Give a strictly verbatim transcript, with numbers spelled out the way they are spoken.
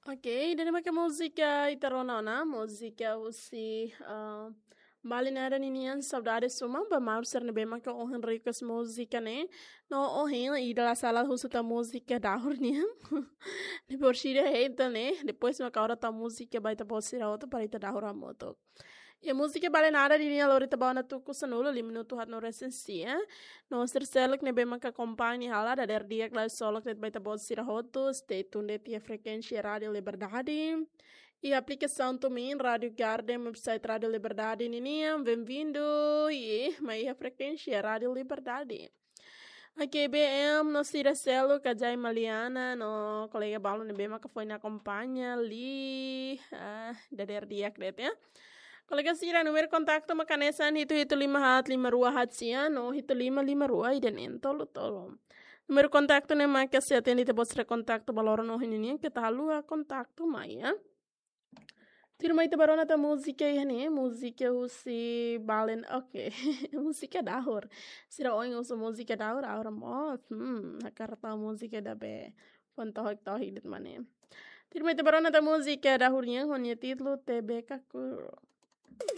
Ok, ida-ne'e maka múzika ita rona ona, múzika husi ah, Bale Nada ninian, Saudade Suma, ba maluk sira ne'ebé maka ohin request múzika ne'e. No ohin ida la sala husu ita múzika dahur nian. Depois ida hetan ne'e, depois maka hora ita múzika ba ita-boot sira hotu para ita dahur hamutuk. Iha múzika Bale Nada ninian lori ita ba ona tuku sanulu, lima minutu haat no resin sia. No sira seluk ne'ebé maka akompaña hela, dadeer di'ak loron solok de'it ba ita-boot sira hotu, stay tuned de'it iha frekuénsia Rádio Liberdade. Iha aplikasaun TuneIn, Rádio Garden, website Rádio Liberdade ninian, bem-vindo. I mai iha frekuénsia Rádio Liberdade. Ok, B M no sira seluk, Kajai Maliana, no kolega balu ne'ebé maka foin akompaña liu, ah, dadeer di'ak de'it, ya. Kolega sira, númeru kontaktu maka hanesan hitu hitu lima haat lima rua haat sia, no hitu lima lima rua ida neen tolu tolu. Númeru kontaktu ne'e maka sei atende ita-boot sira kontaktu ba loron ohin ninian, keta haluha kontaktu mai, ya. Tuirmai ita ba rona tan múzika iha ne'e, múzika husi Bale N-, ok. Múzika dahur. Sira ohin husu múzika dahur, agora mós. Hmm, hakarak tau múzika ida be. Foin tohik-tohik de'it mak ne'e. Tuirmai ita ba rona tan múzika dahur nian, ho nia títulu Tebe Kakuru.